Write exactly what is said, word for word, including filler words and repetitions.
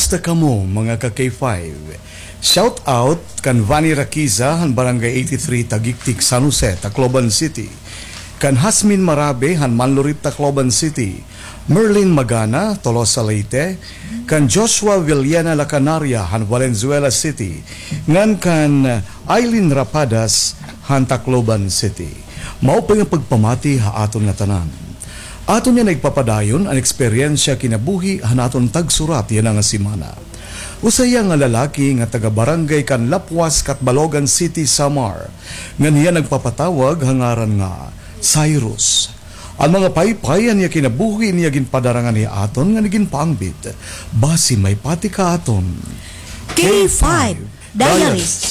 Kumusta kamo, mga ka K five? Shout out kan Vanny Raquiza han Barangay eighty-three, Tagiktik, San Jose, Tacloban City. Kan Hasmin Marabe han Manlurit, Tacloban City. Merlin Magana, Tolosa, Leyte. Kan Joshua Villena Lacanaria han Valenzuela City. Ngan kan Eileen Rapadas han Tacloban City. Maupay nga pagpamati ha aton ngatanan. Aton yana igpapadayon an eksperyensya kinabuhi han aton tagsurat yana nga semana. Usa hiya nga lalaki nga taga-barangay kan Lapuas, Catbalogan City, Samar, ngan hiya nagpapatawag ha ngaran nga Cyrus. An mga paypay han iya kinabuhi niya ginpadarangan hi aton ngan iginpaangbit. Basi may pati ka aton K five Diaries.